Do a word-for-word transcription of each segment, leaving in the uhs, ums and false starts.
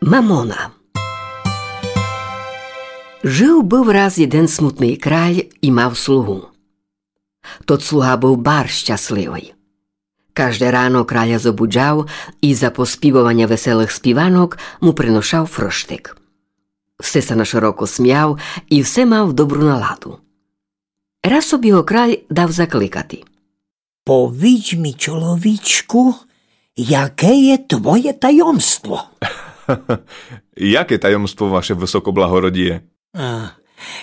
Мамона. Жыв быв раз єден смутный краль і мав слугу. Тот слуга быв барз щасливый. Кажде рано краля зобуджав і за поспівованя веселых співанок му приношав фрыштик. Все ся нашыроко смяв і все мав добру наладу. Раз собі го краль дав закликати. Повідж мі, чоловічку, яке є твоє таємство? Яке таємство, ваше высокоблагородіє? А,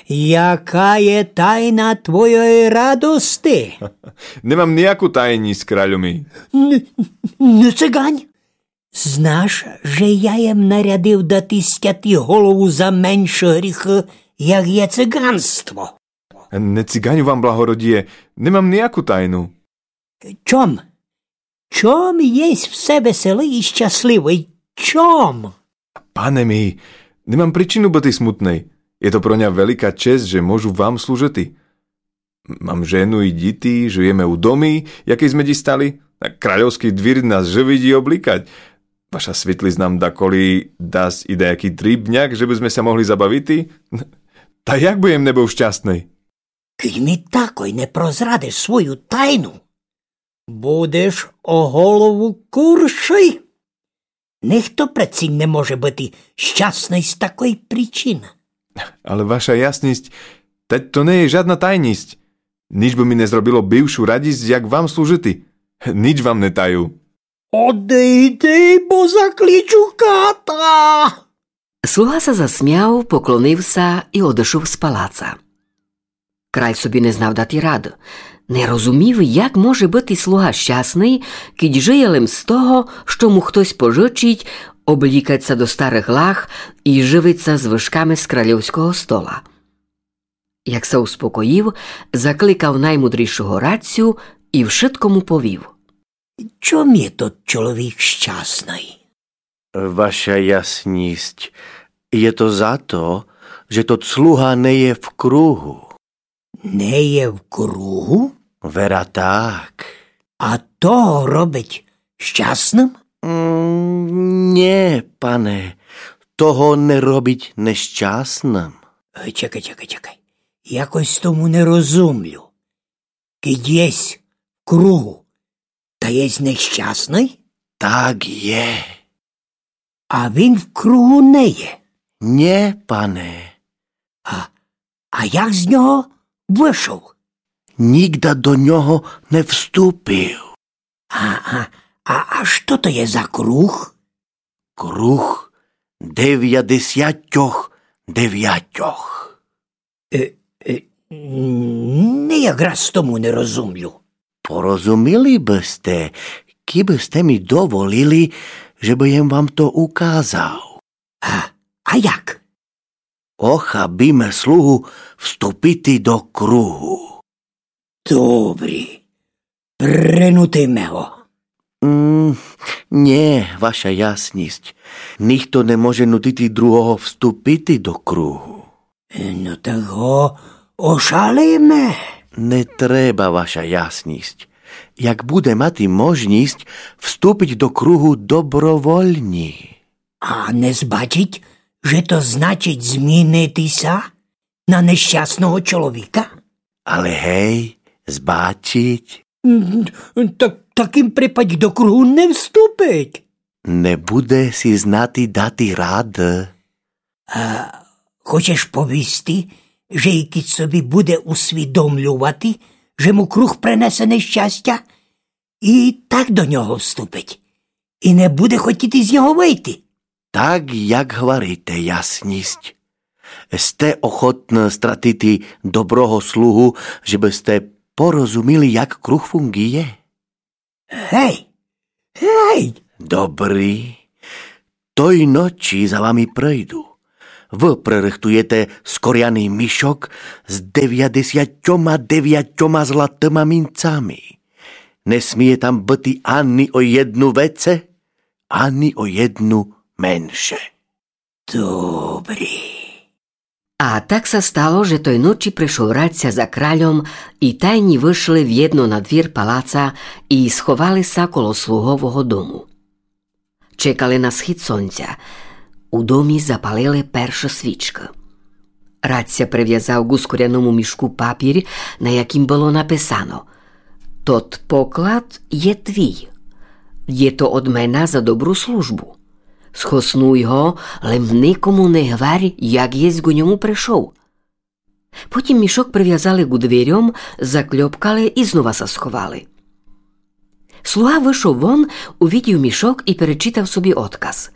яка є тайна твоєї радости? Не мам ніяку тайніст, кралю мій. Н-, не цигань. Знаш, же я єм нарядив дати стяти голову за менше гріхы, як є циганство. Не циганю вам, благородіє, не мам ніяку тайну. Чом? Чом єсь все веселый і щасливый? Чом? Пане мій, не мам причину быти смутный. Є то про ня велика чест, же можу вам служыти. Мам жену і діти, жыєме у домі, якый сме дістали. А кральовскый двір нас жывить і облікать. Ваша світліст нам даколи дасть і даякый дрібняк, же бы сме ся могли забавити. Та як бы єм не быв щасный? Кидь мі такой не прозрадиш свою тайну, будеш о голову куршый. Нихто прецінь не може быти щасный з такой причины. Але ваша ясніст, тадь то не є жадна тайніст. Ніч бы мі не зробило бившу радіст, як вам служыти. Ніч вам не таю. Одыйди, бо закличу ката! Слуга ся засмяв, поклонив ся і одышов з палаца. Краль собі не знав дати рады. Не розумів, як може быти слуга щасный, кидь жыє лем з того, што му хтось пожычить, облікать ся до старых лах і жывить ся звышками з кральовского стола. Як ся успокоїв, закликав наймудрішого радцю і вшытко му повів. Чом є тот чоловік щасный? Ваша ясніст, є то за то, же тот слуга не є в кругу. Не є в кругу? Вера так. А то го робить щасным? М, нє, пане, то го не робить нещасным. Е, чекай, чекай, чекай. Якось тому не розумлю. Кидь єсь в кругу, та єсь нещасный? Так є. А він в кругу не є? Нє, пане. А, а як з нього вышов? Нігда до нього не вступив. А, а, а, а што то є за круг? Круг девятдесятьох девятьох. Е, е, не якраз тому не розумлю. Порозуміли бы сте, кибы сте мі доволіли, же бы єм вам то указав. А, а як? Охабіме слугу вступити до кругу. Добрі, принутиме го. М, нє, ваша ясніст. Нихто не може нутити другого вступити до кругу. Но так го ошалиме. Не треба, ваша ясніст. Як буде мати можніст, вступить до кругу добровольні. А не збачить, же то значить змінити ся на нещасного чоловіка? Але гей, збачить. М, та, в такім припадь до кругу не вступить. Не буде сі знати дати рады. А хочеш повісти, же і кидь собі буде усвідомлювати, же му круг принесе нещастя, і так до нього вступить, і не буде хотіти з нього выйти. Так, як гварите, ясніст. Сте охотны стратити доброго слугу, жебы сте порозуміли, як круг фунґує? Гей! Гей! Добрі. Той ночі за вами прийду. Вы прирыхтуєте скоряный мішок з девятдесятьома девятьома златыма мінцами. Не сміє там быти ани о єдну веце, ани о єдну менше. Добрі. А так ся стало, же той ночі пришов радця за кральом, і тайні вышли вєдно на двір палаца і сховали ся коло слугового дому. Чекали на схід сонця. У домі запалили першы свічкы. Раця привязав ку скуряному мішку папір, на якім было написано: Тот поклад є твій. Є то одмена за добру службу. Схоснуй го, лем никому не гварь, як єсь ку ньому пришов. Потім мішок привязали ку дверьом, закльопкали і знова ся сховали. Слуга вышов вон, увидів мішок і перечитав собі одказ.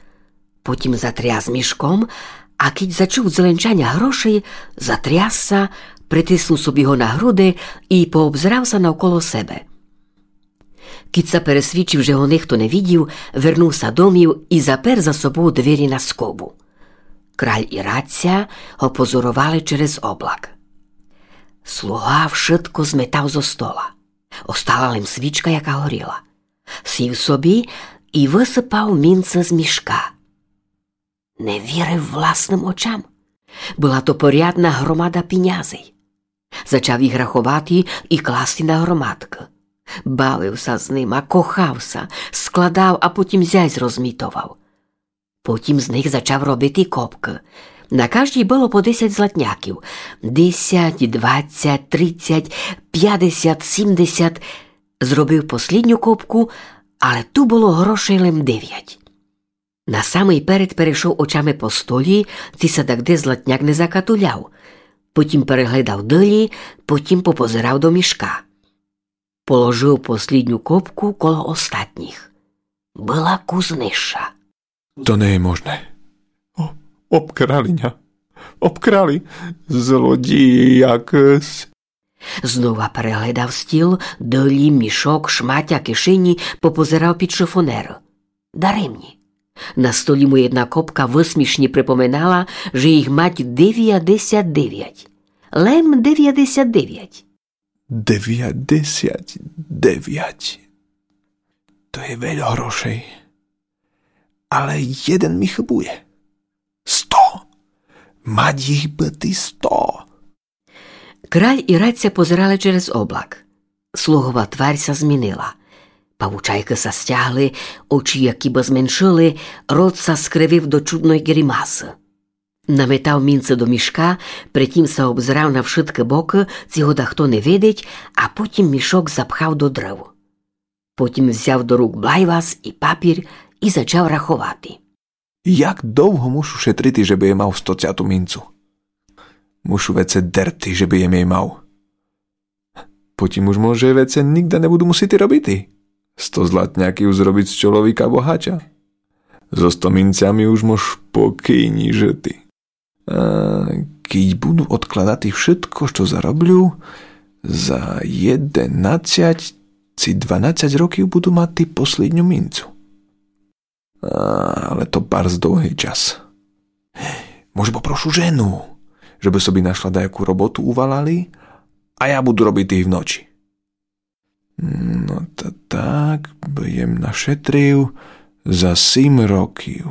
Потім затряс мішком, а кідь зачув дзеленчаня грошей, затряс ся, притиснув собі го на груды і пообзерав ся навколо себе. Кідь ся пересвідчив, же го нихто не видів, вернув ся домів і запер за собов дверї на скобу. Краль і раця го позоровали через облак. Слуга вшытко зметав зо стола. Остала лем свічка, яка горіла. Сів собі і высыпав мінци з мішка. Не вірив власным очам. Была то порядна громада пінязей. Зачав їх раховати і класти на громадкы. Бавив ся з нима, кохав ся, складав, а потім зясь розмітовав. Потім з них зачав робити копкы. На каждій было по десять златняків. Десять, двадцять, тридцять, пятдесят, сімдесят. Зробив послідню копку, але ту было грошей лем девять. На самый перед перейшов очами по столї, ци ся дагде златняк не закатуляв. Потім перегледав долї, потім попозирав до мішка. Положив послідню копку коло остатнїх. Была кус нижша. То не є можне. О, обкрали ня. Обкрали. Злодїї якыс. Знова перегледав стіл, долї, мішок, шматя, кишенї, попозирав під шифонер. Даремні. На столї му єдна копка высмішні припоминала, же їх мать девятдесят девять. Лем девятдесят девять. Девятдесят девять. То є вельо грошей. Але єден мі хыбує. Сто! Мать їх быти сто! Краль і раця позирали через облак. Слугова тварь ся змінила. Павучайкы ся стягли, очі якібы зменшили, рот ся скривив до чудной гримасы. Наметав мінци до мішка, притім ся обзирав на вшыткы бокы, ци го дахто не видить, а потім мішок запхав до дрыв. Потім взяв до рук блайвас і папір і зачав раховати. Як довго мушу шетрити, жебы єм мав стоцяту мінцу? Мушу веце дерти, жебы єм єй мав. Потім уж може веце нигда не буду мусити робити. Сто златняків зробить з чоловіка богача. Зо сто мінцями уж мож покійні жыти. А кідь буду одкладати вшытко, што зароблю, за єденадцять ци дванадцять років буду мати послідню мінцу. А, але то барз довгый час. Може, попрошу жену, жебы собі нашла даяку роботу у валалі, а я буду робити і вночі. Но та так бы єм нашетрив за сім років.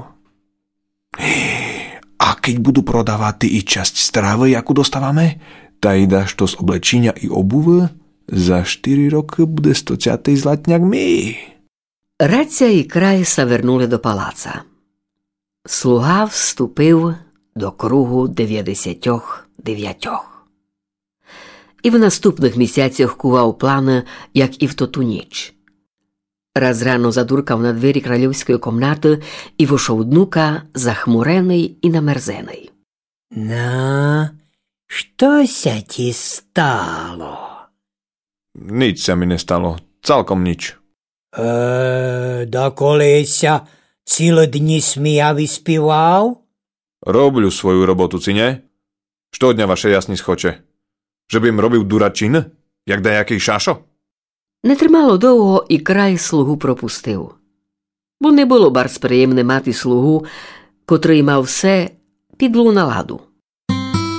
А кідь буду продавати і часть стравы, яку доставаме, та й дашто з облечіня і обувы, за штыри рокы буде стоцятый златняк мій. Раця і краль ся вернули до палаца. Слуга вступив до кругу девятдесятьох девятьох. І в наступных місяцях кував планы, як і в тоту ніч. Раз рано задуркав на двері кральовської комнаты і вошов днука, захмуреный і намерзеный. Но, што ся ті стало? Ніч ся мі не стало, цалком ніч. Е, даколи ся цілы дні сміяв і співав? Роблю свою роботу, ци нє? Што од ня ваша ясність хоче? Жебы єм робив дурачины, як даякый шашо? Не тримало довго, і краль слугу пропустив. Бо не было барз приємне мати слугу, котрый мав все під злу наладу.